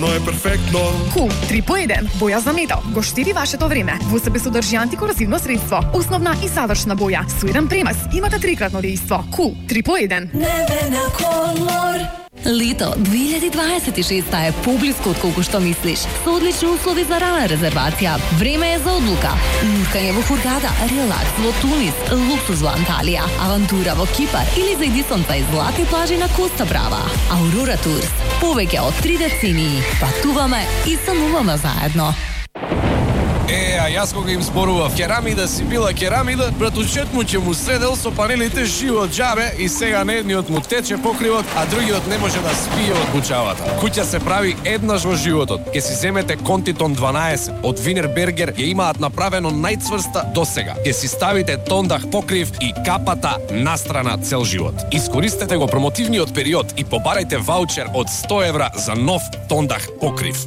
Но е перфектно. Кул 3 по 1, боја за метал, го штиди вашето време. Во себе содржи антикорозивно средство, основна и завршна боја, со еден премас, имате трикратно дејство. Кул 3 по 1. Небена колор. Лето 2026 е поблиску од колку што мислиш. Со одлични услови за рана резервација. Време е за одлука. Луткање во Хургада, релакс во Тунис, луксуз во Анталија, авантура во Кипар или за единствената и златни плажи на Коста Брава. Аурора Турс. Повеќе од 3 децении. Патуваме и сануваме заедно. А јас кога им зборував керамида си била керамида, братучет му ќе му седел со панелите живо џабе и сега на едниот му тече покривот, а другиот не може да спие од бучавата. Куќа се прави еднаш во животот. Ке си земете Контитон 12 од Винербергер, ја имаат направено најцврста досега. Ке си ставите тондах покрив и капата настрана цел живот. Искористете го промотивниот период и побарајте ваучер од 100 евра за нов тондах покрив.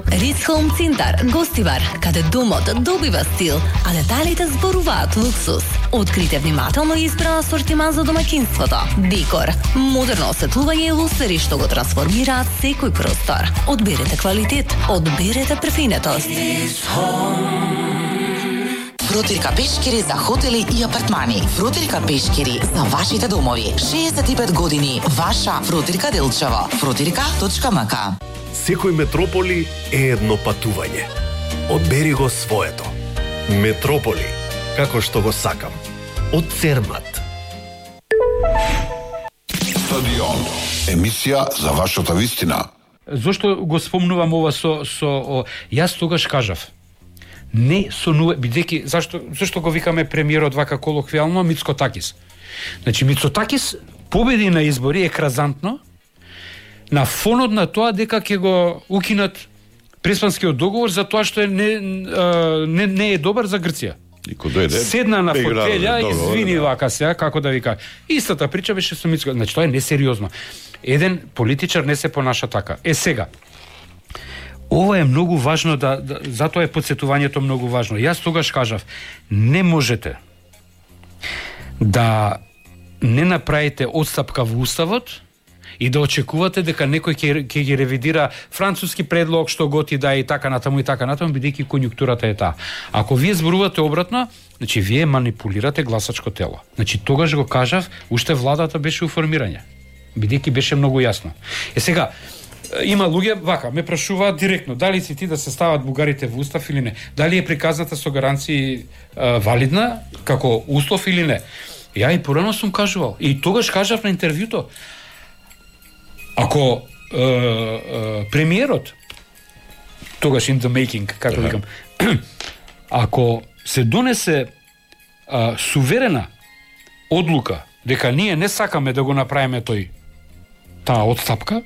Рис Хоум Цинтар, гостивар, каде домот добива стил, а деталите зборуваат луксус. Открите внимателно избран асортиман за домаќинството. Декор, модерно осветлување и лусери што го трансформираат секој простор. Одберете квалитет, одберете префинетост. Фрутирка пешкири за хотели и апартмани. Фрутирка пешкири за вашите домови. 65 години. Ваша Фрутирка Делчево. Frutirka.mk. Секој метрополи е едно патување. Одбери го своето. Метрополи, како што го сакам. Од Цермат. Стадион. Емисија за вашата вистина. Зошто го спомнувам ова јас тогаш кажав. Не сонува, бидејќи зашто го викаме премиерот вака колоквијално Мицкотакис. Значи Мицкотакис победи на избори екразантно на фонот на тоа дека ќе го укинат Преспанскиот договор за тоа што не е добар за Грција. Седна на фотелја и извини вака сега, како да ви кажа. Истата прича беше со Мицко. Значи тоа е несериозно. Еден политичар не се понаша така. Сега. Ова е многу важно затоа е подсетувањето многу важно. Јас тогаш кажав, не можете да не направите отстапка во уставот и да очекувате дека некој ќе ги ревидира француски предлог што готи да и така натаму, бидејќи конјунктурата е таа. Ако вие зборувате обратно, значи вие манипулирате гласачко тело. Значи тогаш го кажав, уште владата беше у формирање, бидејќи беше многу јасно. Сега има луѓе вака ме прашуваат директно дали си ти да се стават бугарите во устав или не. Дали е приказната со гаранции валидна како услов или не. Ја и порано сум кажувал и тогаш кажав на интервјуто. Ако премиерот тогаш in the making, како викам, ако се донесе суверена одлука дека ние не сакаме да го направиме таа отстапка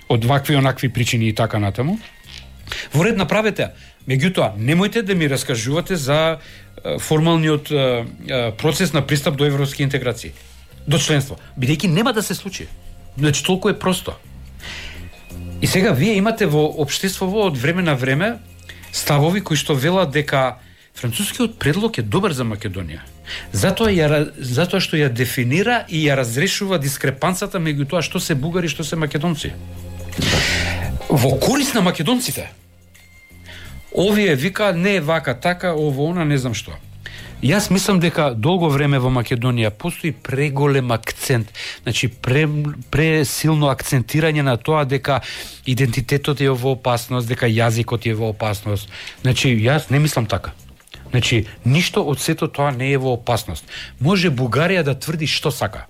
од вакви онакви причини и така натаму, во ред направете. Меѓутоа, немојте да ми раскажувате за формалниот процес на пристап до европски интеграции, до членство, бидејќи нема да се случи. Значи, толку е просто. И сега вие имате во општеството од време на време ставови кои што велат дека францускиот предлог е добар за Македонија. Затоа што ја дефинира и ја разрешува дискрепанцата меѓу тоа што се бугари и што се македонци. Во корист на македонците. Овие вика не е вака така, ово она не знам што. Јас мислам дека долго време во Македонија постои преголем акцент, значи пресилно акцентирање на тоа дека идентитетот е во опасност, дека јазикот е во опасност. Значи јас не мислам така. Значи ништо од сето тоа не е во опасност. Може Бугарија да тврди што сака.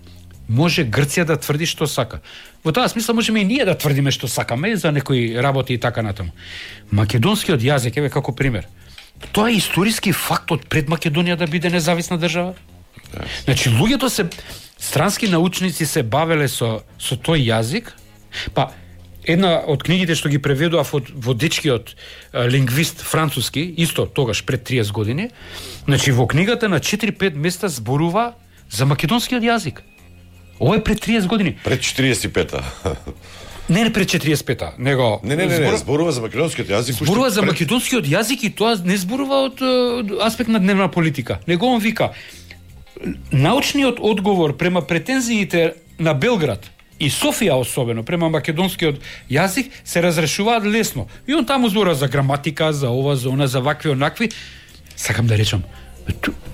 Може Грција да тврди што сака. Во таа смисла можеме и ние да тврдиме што сакаме за некои работи и така натаму. Македонскиот јазик еве како пример. Тоа е историски факт од пред Македонија да биде независна држава. Значи луѓето се странски научници се бавеле со тој јазик. Па една од книгите што ги преведував од водечкиот лингвист француски, исто тогаш пред 30 години, значи во книгата на 4-5 места зборува за македонскиот јазик. Ова е пред 30 години. Пред 45-та. Не пред 45-та, него Не, зборува за македонскиот јазик. Зборува за македонскиот јазик и тоа не зборува од аспект на дневна политика. Него он вика научниот одговор према претензиите на Белград и Софија особено према македонскиот јазик се разрешуваат лесно. И он таму збора за граматика, за ова, за она, за вакви онакви. Сакам да речам,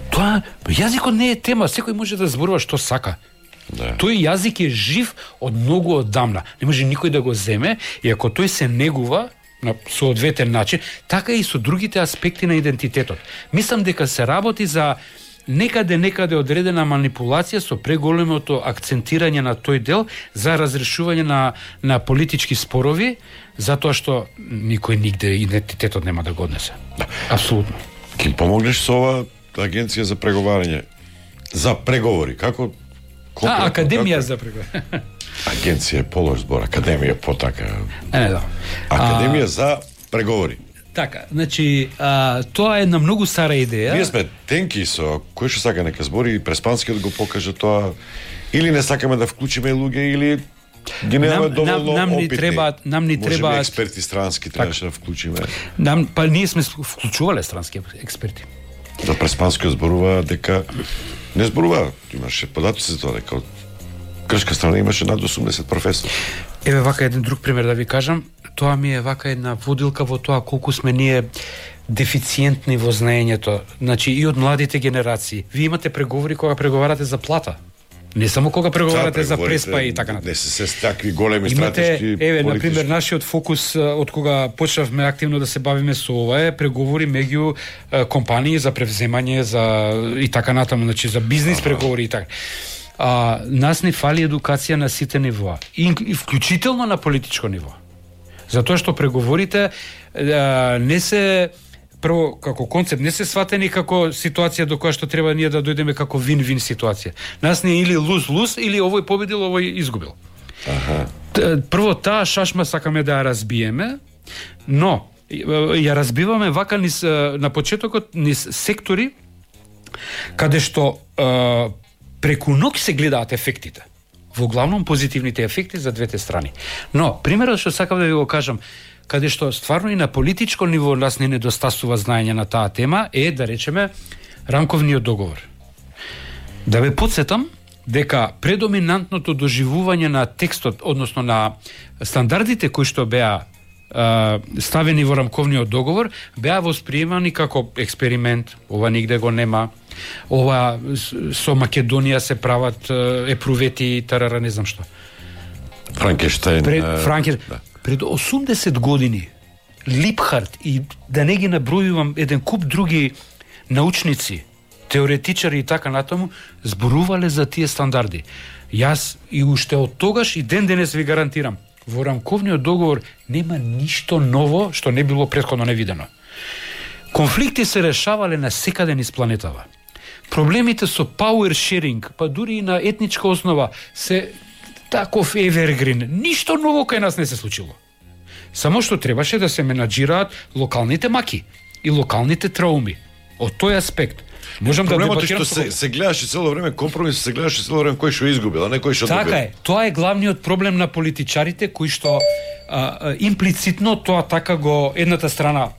тоа јазикот не е тема, секој може да зборува што сака. Да. Тој јазик е жив од многу оддамна. Не може никој да го земе, и ако тој се негува на соодветен начин, така и со другите аспекти на идентитетот. Мислам дека се работи за некаде одредена манипулација со преголемото акцентирање на тој дел за разрешување на политички спорови, затоа што никој нигде идентитетот нема да го однесе. Апсолутно. Ке помогнеш со ова агенција за преговарање? За преговори, како? Академија за преговарање. Агенција е полош збор, академија потака. Да. Академија за преговори. Така, значи, тоа е една многу стара идеја. Ние сме тенки со кој што сака нека збори и преспанскиот го покаже тоа, или не сакаме да вклучиме луѓе, или ги немаме доволно опитни. Нам ни треба експерти странски требаше да вклучиме. Па ние сме вклучувале странски експерти. За преспанскиот зборува дека не зборува, имаше податоци за тоа дека од грчка страна имаше над 80 професори. Еве вака еден друг пример да ви кажам, тоа ми е вака една водилка во тоа колку сме ние дефициентни во знаењето, значи и од младите генерации. Вие имате преговори кога преговарате за плата. Не само кога преговарате за преспа и така натаму. Не се такви големи стратешки. Еве, на пример, нашиот фокус од кога почнавме активно да се бавиме со ова е преговори меѓу компании за превземање за и така натаму, значи за бизнис преговори и така. Нас не фали едукација на сите нивоа, и вклучително на политичко ниво. Затоа што преговорите не се прво како концепт не се сватени како ситуација до која што треба ние да дојдеме како вин-вин ситуација. Нас не е или луз-луз, или овој победил, овој изгубил. Прво таа шашма сакаме да ја разбиеме, но ја разбиваме вака низ на почетокот низ сектори каде што преку ноќ се гледаат ефектите. Во главном позитивните ефекти за двете страни. Но примерот што сакам да ви го кажам, каде што стварно и на политичко ниво нас не недостасува знаење на таа тема, е, да речеме, рамковниот договор. Да ве потсетам дека предоминантното доживување на текстот, односно на стандардите кои што беа ставени во рамковниот договор, беа восприемани како експеримент, ова нигде го нема, ова со Македонија се прават епрувети, тарара, не знам што. Франкенштајн. Пред 80 години Липхарт и да не ги набројувам еден куп други научници, теоретичари и така натаму, зборувале за тие стандарди. Јас и уште од тогаш и ден денес ви гарантирам, во рамковниот договор нема ништо ново што не било претходно невидено. Конфликти се решавале на секаде низ планетава. Проблемите со power sharing, па дури и на етничка основа, се таков evergreen. Ништо ново кај нас не се случило. Само што требаше да се менаџираат локалните маки и локалните трауми. Од тој аспект можам да дебатирам. Проблемот е што се гледаше цело време компромис, се гледаше цело време кој што изгубил, а не кој што добил. Така е. Тоа е главниот проблем на политичарите кои што имплицитно тоа така го едната страна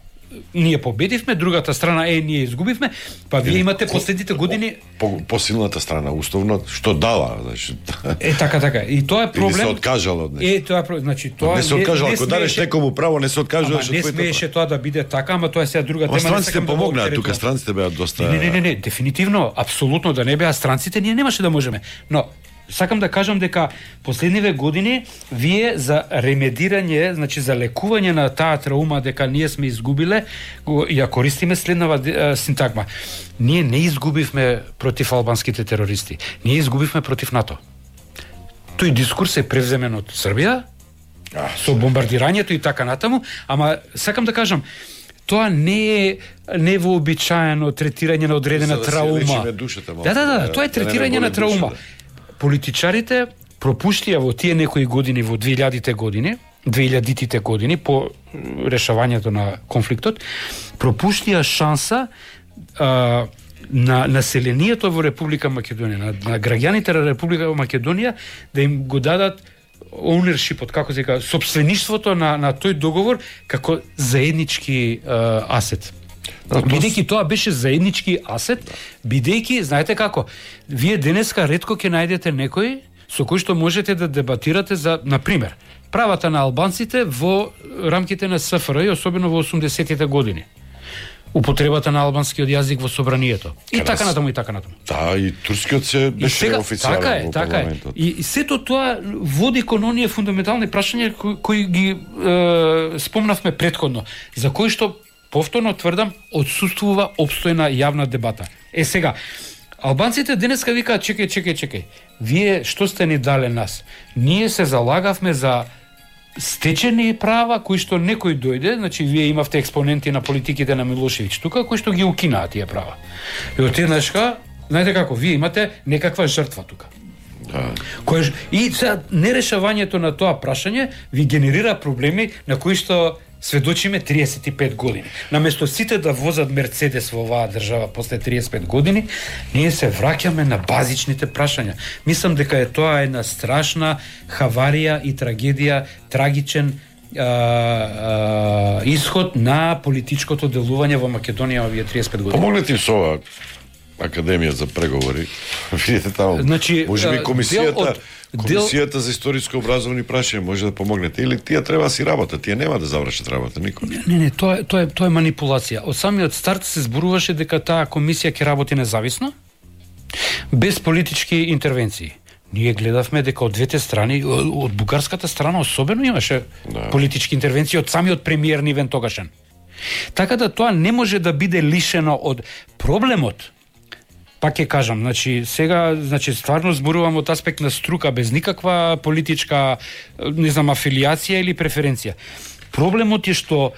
ние победивме, другата страна ние изгубивме, па вие имате последните години посилната страна уставно што дала, значи. Така. И тоа е проблем. Или се откажала од нешто. Тоа значи тоа не се откажала, ако дадеш некому право, не се откажуваш од твоето. Не смееше тоа да биде така, ама тоа е сега друга тема. Странците помогнаа, тука странците беа доста. Не, дефинитивно, апсолутно да не беа странците, ние немаше да можеме. Но сакам да кажам дека последниве години вие за ремедирање, значи за лекување на таа траума дека ние сме изгубиле, ја користиме следнава синтагма. Ние не изгубивме против албанските терористи, ние изгубивме против НАТО. Тој дискурс е превземен од Србија со бомбардирањето и така натаму, ама сакам да кажам, тоа не е невообичаено третирање на одредена траума. Да, тоа е третирање на траума. Политичарите пропуштија во тие некои години, во 2000-тите години, по решавањето на конфликтот, пропуштија шанса на населението во Република Македонија, на граѓаните на Република Македонија, да им го дадат ownershipот, како се кажа, собствеништвото на тој договор како заеднички асет. Бидејќи тоа беше заеднички асет, бидејќи, знаете како, вие денеска ретко ќе најдете некој со кој што можете да дебатирате за, на пример, правата на албанците во рамките на СФР, особено во 80-тите години. Употребата на албанскиот јазик во собранието. И така натаму, и така натаму. Да, и турскиот се беше официјален во парламентот. И сето тоа води кон оние фундаментални прашања кои ги спомнавме претходно, за кои што повторно тврдам отсуствува опстојна јавна дебата. Сега, албанците денеска викаат чекај. Вие што сте ни дале нас? Ние се залагавме за стечени права кои што некој дојде, значи вие имавте експоненти на политиките на Милошевиќ тука кои што ги укинаа тие права. И отеднашка, знаете како, вие имате некаква жртва тука. И сега нерешавањето на тоа прашање ви генерира проблеми на кои што сведочиме 35 години. Наместо сите да возат Мерцедес во оваа држава после 35 години, ние се враќаме на базичните прашања. Мислам дека е тоа една страшна хаварија и трагедија, трагичен исход на политичкото делување во Македонија овие 35 години. Помогнете им со ова Академија за преговори. Видите таму. Значи, можеби комисијата за историско образовни прашања може да помогнете, или тие треба да си работат, тие нема да завршат работа никој. Не, тоа е манипулација. Од самиот старт се зборуваше дека таа комисија ќе работи независно, без политички интервенции. Ние гледавме дека од двете страни, од бугарската страна особено имаше политички интервенции од самиот премиер Нивен тогашен. Така да тоа не може да биде лишено од проблемот. Пак ќе кажам, сега стварно зборувам од аспект на струка без никаква политичка, афилијација или преференција. Проблемот е што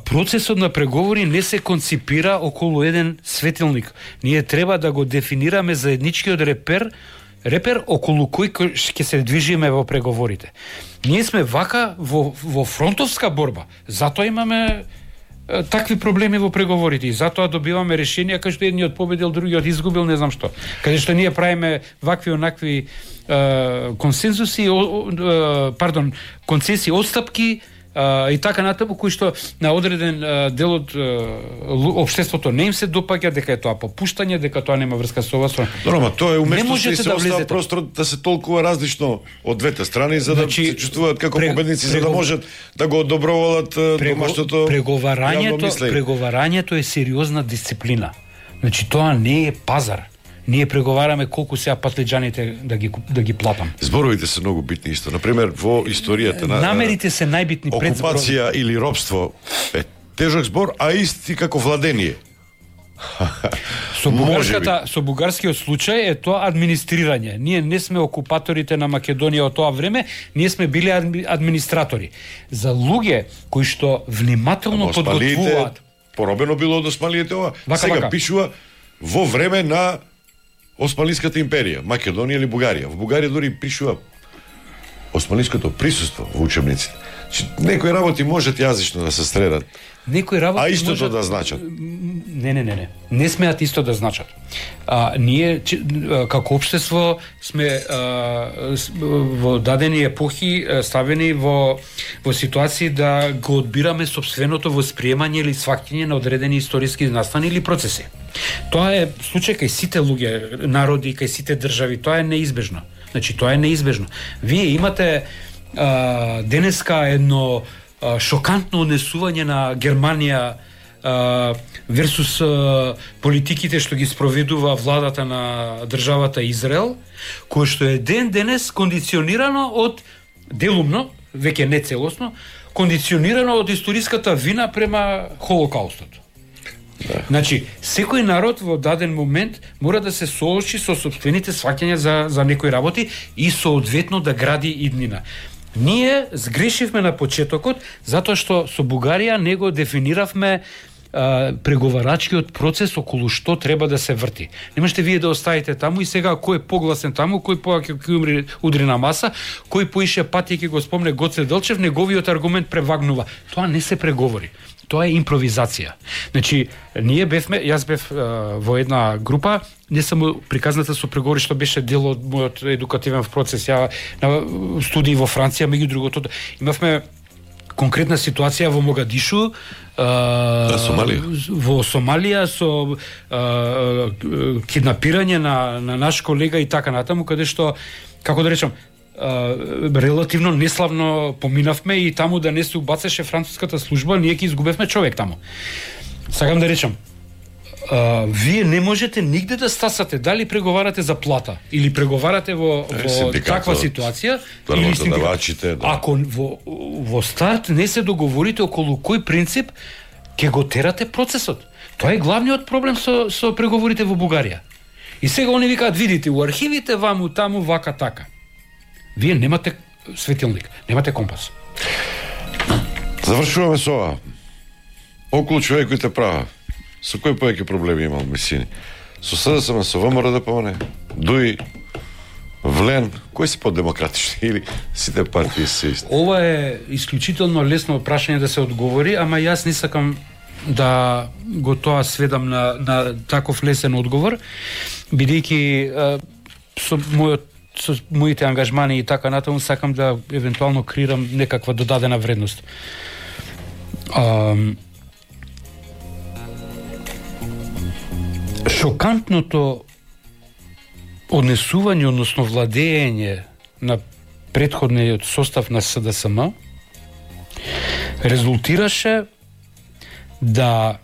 процесот на преговори не се конципира околу еден светилник. Ние треба да го дефинираме заедничкиот репер околу кој ќе се движиме во преговорите. Ние сме вака во фронтовска борба, затоа имаме такви проблеми во преговорите и затоа добиваме решенија кај што едниот победил, другиот изгубил, не знам што. Каде што ние правиме вакви онакви консензуси, концесии, отстапки и така натаму, кои што на одреден дел од општеството не им се допаѓа, дека е тоа попуштање, дека тоа нема врска со ова. Ама тоа е уместно што се остава простор да се толкува различно од двете страни, за да се чувствуваат како победници, за да можат да го одобровалат домашното преговарањето е сериозна дисциплина. Значи тоа не е пазар. Ние преговараме колку сега патлиџаните да ги платам. Зборовите се многу битни исто. Например, во историјата на намерите се најбитни пред окупација или робство е тежок збор, а исти како владение. Со бугарскиот случај е тоа администрирање. Ние не сме окупаторите на Македонија од тоа време, ние сме биле администратори. За луѓе кои што внимателно подготвуваат. Поробено било од осмалиите ова. Сега пишува во време на Османлиската империја, Македонија или Бугарија. Во Бугарија дури пишува османлиското присуство во учебниците. Некои работи можат јазично да се средат. Некои работи истото да значат. Не. Не смеат исто да значат. Ние како општество сме во дадени епохи ставени во ситуации да го одбираме сопственото восприемање или сваќање на одредени историски настани или процеси. Тоа е случај кај сите луѓе, народи, кај сите држави, тоа е неизбежно. Значи тоа е неизбежно. Вие имате денеска едно шокантно однесување на Германија версус политиките што ги спроведува владата на државата Израел, кој што е денес кондиционирано од делумно, веќе не целосно, кондиционирано од историската вина према Холокаустот. Значи, секој народ во даден момент мора да се соочи со сопствените сваќања за некои работи и соодветно да гради иднина. Ние сгрешивме на почетокот затоа што со Бугарија не го дефиниравме преговарачкиот процес околу што треба да се врти. Не можете вие да оставите таму и сега кој е погласен таму, кој повеќе удри на маса, кој поише пати ќе го спомне Гоце Делчев, неговиот аргумент превагнува. Тоа не се преговори. Тоа е импровизација. Значи, јас бев во една група, не само приказната со преговори што беше дел од мојот едукативен процес, ја на студии во Франција, меѓу другото, имавме конкретна ситуација во Могадишу, во Сомалија со киднапирање на наш колега и така натаму, каде што како да речам, релативно неславно поминавме и таму да не се убацеше француската служба, ние ќе изгубевме човек таму. Сакам да речам, вие не можете нигде да стасате дали преговарате за плата или преговарате во таква ситуација или да. Ако во старт не се договорите околу кој принцип ќе го терате процесот. Тоа е главниот проблем со преговорите во Бугарија. И сега они викаат, видите, у архивите ваму таму вака така. Вие немате светилник, немате компас. Завршуваме со ова. Околу човековите права. Со кој повеќе проблеми имал Месини? Со СДСМ, со ВМРО ДПМН, ДУИ, ВЛЕН, кои се подемократични или сите партии се исти? Ова е исклучително лесно прашање да се одговори, ама јас не сакам да го тоа сведам на таков лесен одговор, бидејќи со моите ангажмани и така натаму сакам да евентуално креирам некаква додадена вредност. Шокантното однесување, односно владење на претходниот состав на СДСМ резултираше да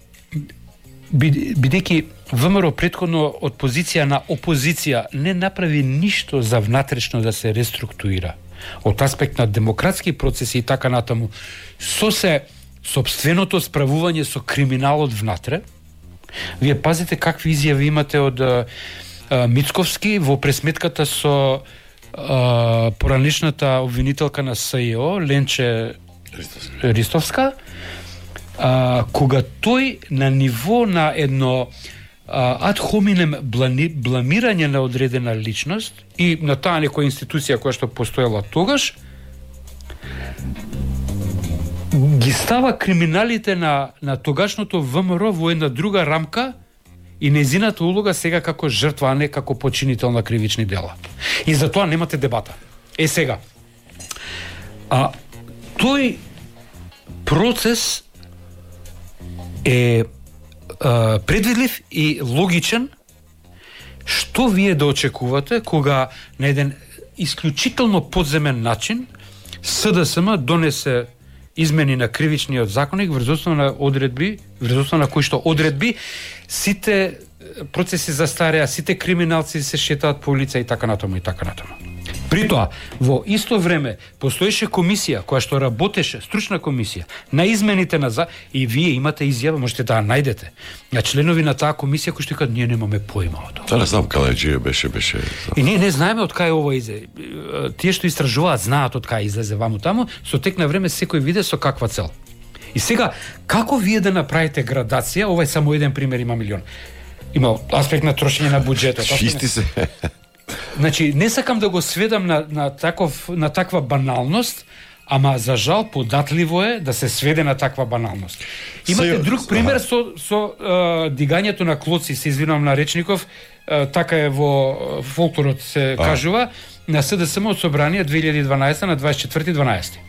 бидејќи ВМРО претходно од позиција на опозиција не направи ништо за внатрешно да се реструктурира од аспект на демократски процеси и така натаму, со се сопственото справување со криминалот внатре. Вие пазите какви изјави имате од Мицковски во пресметката со поранешната обвинителка на СИО Ленче Ристовска, кога тој на ниво на едно ад хоминем бламирање на одредена личност и на таа некоја институција која што постоела тогаш, ги става криминалите на тогашното ВМРО во една друга рамка и нејзината улога сега како жртва, а не како починител на кривични дела. И за тоа немате дебата. Сега, тој процес е предвидлив и логичен. Што вие да очекувате кога на еден исклучително подземен начин СДСМ донесе измени на кривичниот законник врз основа на одредби, врз основа на кои што одредби сите процеси застареа, сите криминалци се шетаат по улица и така натаму и така натаму. При тоа, во исто време постоеше комисија која што работеше, стручна комисија на измените на и вие имате изјава, можете да ја најдете, на членови на таа комисија кои што кажат ние немаме појма од тоа. Не знам каде беше. И ние не знаеме од кај ова изе. Тие што истражуваат знаат од кај излезе ваму таму, со тек на време секој виде со каква цел. И сега како вие да направите градација, ова е само еден пример, има милион. Има аспект на трошење на буџетот. Чисти се. Значи, не сакам да го сведам на таква баналност, ама за жал податливо е да се сведе на таква баналност. Имате друг пример со дигањето на клоци, се извинувам на речников, така е во фолклорот се кажува, на СДСМ од собрание 2012 на 24.12.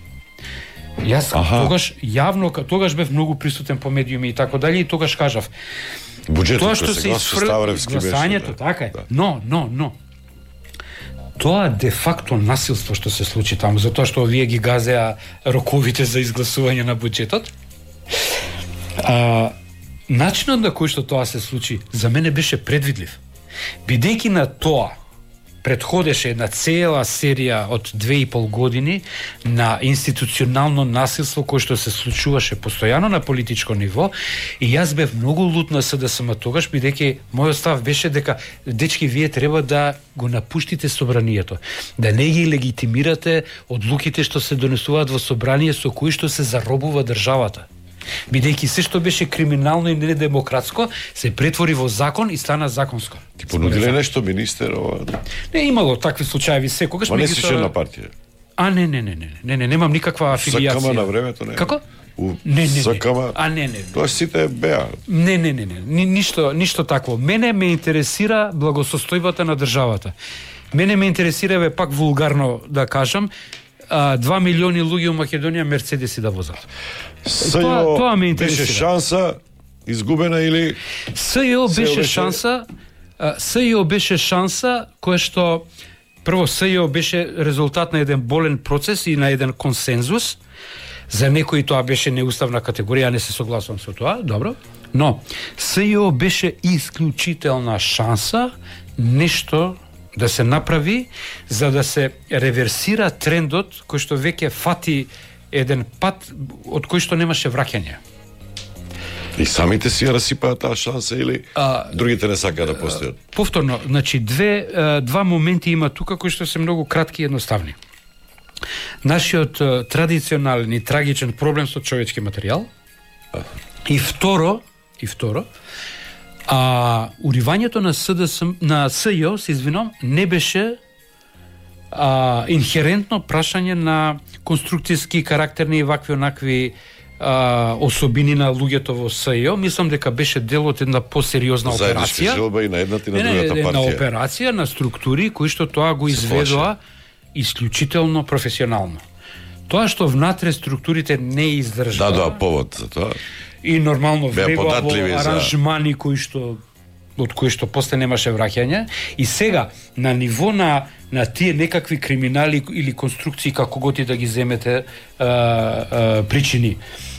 Јас тогаш јавно, тогаш бев многу присутен по медиуми и така дали, и тогаш кажав буџетот што се гласањето, така е. Но тоа де факто насилство што се случи таму, затоа што овие ги газеа роковите за изгласување на буџетот. Начинот на кој што тоа се случи за мене беше предвидлив. Бидејќи на тоа предходеше една цела серија од 2,5 години на институционално насилство кој што се случуваше постојано на политичко ниво, и јас бев многу лут на СДСМ тогаш, бидејќи мојот став беше дека дечки вие треба да го напуштите собранието, да не ги легитимирате одлуките што се донесуваат во собрание со кои што се заробува државата. Бидејќи се што беше криминално и недемократско се претвори во закон и стана законско. Ти понудиле нешто министер ова? Не имало такви случаи секогаш. Ма не си член на партија? Не, немам никаква афилијација. СКМ на времето не. Како? Не. СКМ. Не. Тоа сите беа. Не. Ништо такво. Мене ме интересира благосостојбата на државата. Мене ме интересира, пак вулгарно да кажам, 2 милиони луѓе во Македонија мерцедеси да возат. Тоа ме интересира. Беше шанса изгубена или СЈО беше шанса која што прво СЈО беше резултат на еден болен процес и на еден консензус. За некои тоа беше неуставна категорија, не се согласувам со тоа, добро. Но СЈО беше исклучителна шанса нешто да се направи за да се реверсира трендот кој што веќе фати еден пат од кој што немаше враќање. И самите си ја расипаат таа шанса или другите не сакаат да постојат? Повторно, значи два моменти има тука кои што се многу кратки и едноставни. Нашиот традиционален и трагичен проблем со човечки материјал. И второ, уривањето на СЈО, се извинам, не беше инхерентно прашање на конструктивски, карактерни и вакви онакви особини на луѓето во СЈО. Мислам дека беше дел од една посериозна операција. Заедничка желба и на едната и на другата партија. На операција на структури кои што тоа го изведоа исклучително професионално. Тоа што внатре структурите не издржаа. Да, повод за тоа. И нормално влегоа во аранжмани од кои што после немаше враќање. И сега на ниво на тие некакви криминали или конструкции, како го ти да ги земете причини,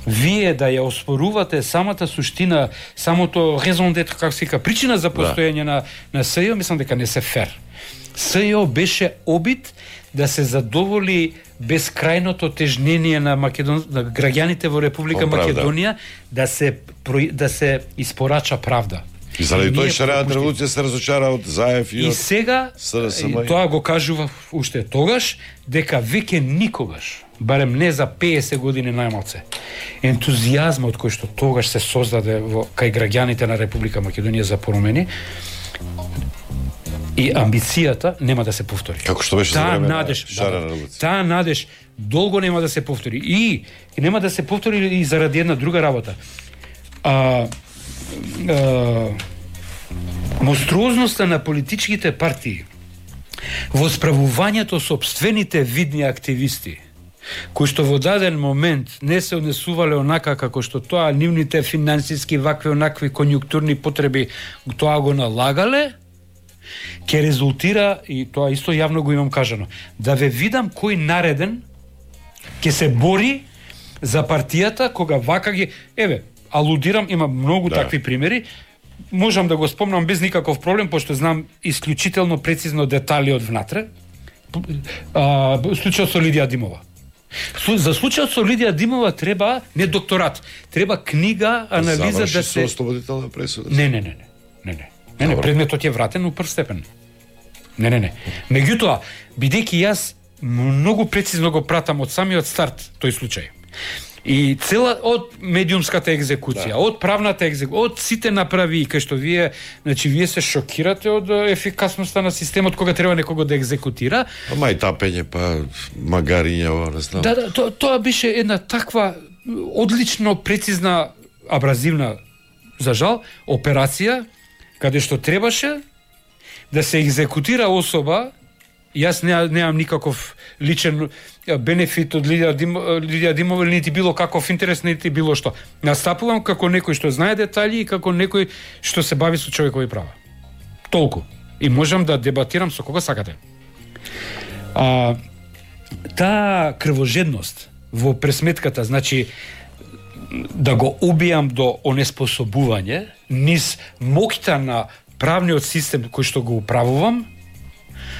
вие да ја оспорувате самата суштина, самото резон дет, како се вика, причина за постоење на СЈО, мислам дека не се фер. СЈО беше обид да се задоволи безкрајното тежнение на на граѓаните во Република Македонија да се испорача правда. И заради тоа шарената револуција се разочара од Заев и од сега тоа го кажува уште тогаш дека веќе никогаш, барем не за 50 години најмалце, ентузијазмот кој што тогаш се создаде кај граѓаните на Република Македонија за промени и амбицијата нема да се повтори. Како што беше за време на шарена револуција. Таа надеж долго нема да се повтори и нема да се повтори и заради една друга работа. Монструозноста на политичките партии во справувањето сопствените видни активисти кои што во даден момент не се однесувале онака како што тоа нивните финансиски вакви онакви конјунктурни потреби тоа го налагале, ќе резултира, и тоа исто јавно го имам кажано, да ве видам кој нареден ќе се бори за партијата кога вака ги... Еве, алудирам, има многу такви примери, можам да го спомнам без никаков проблем, пошто знам исклучително прецизно детали од внатре. Случајот со Лидија Димова. За случајот со Лидија Димова треба не докторат, треба книга, анализа да се... Заврши со ослободителна пресуда? Не, предметот е вратен у прв степен. Не. Меѓутоа, бидејќи јас многу прецизно го пратам од самиот старт тој случај. И цела од медиумската екзекуција, од правната екзекуција, од сите направи кај што вие се шокирате од ефикасноста на системот кога треба некого да екзекутира. Мај тапење, па магариња, не знам. Да, тоа беше една таква одлично прецизна, абразивна, за жал, операција каде што требаше да се екзекутира особа. Јас немам никаков личен бенефит од Лидија Димова, нити било каков интерес, нити било што. Настапувам како некој што знае детали и како некој што се бави со човекови права. Толку. И можам да дебатирам со кого сакате. Таа крвожедност во пресметката, значи да го убијам до онеспособување низ моќта на правниот систем кој што го управувам,